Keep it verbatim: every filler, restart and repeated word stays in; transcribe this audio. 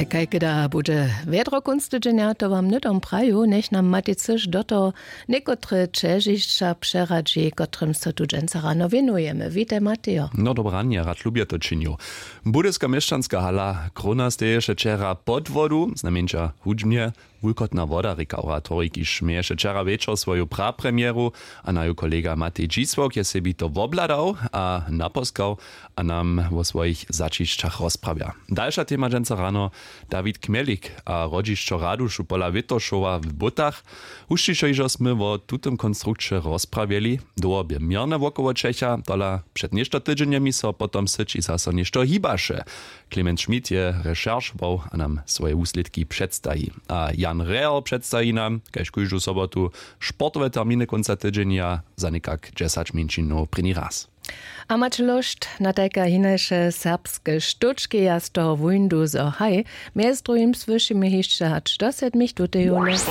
Kajkeda bude wjedro kónc tydźenja, to wam hnydom praju. Njech nam Matej Cyš do toho někotre ćežišća přeradźi, kotrymž so tu dźensa rano wěnujemy. Witaj, Matejo. No, dobre ranje, rad lubje to činił. Budyska měšćanska hala Krona steješe wčera pod wodu, znajmjeńša hudźbnje. Wulkotna woda rěka oratorij, kiž měješe wčera wječor swoju prapremjeru, a naju kolega Matej Dźisławk je sebi to wobhladał a naposkał, a nam wo swojich zaćišćach rozprawja. Dalša tema dźensa rano: Dawid Kmjelik a hrodźišćo Radušu pola Wětošowa w Butach. Hušćišo hižo smy wo tutym konstrukće rozprawjeli. Dołho bě měrne wokoło Čecha, tola před něšto tydźenjemi so potom w syći zaso něšto hibaše. Clemens Schmidt je rešeršował a nam swoje wuslědki předstaji. A Jan Reher předstaji nam, kaž kóždu sobotu, sportowe terminy kónca tydźenja za někak dźesać mjeńšinow prěni raz. A maće lóšt na tajke a hinaše serbske štóčki, ja z toho wóńdu zo haj. Mjez druhim słyšimy hišće hač do sedmich tuteju.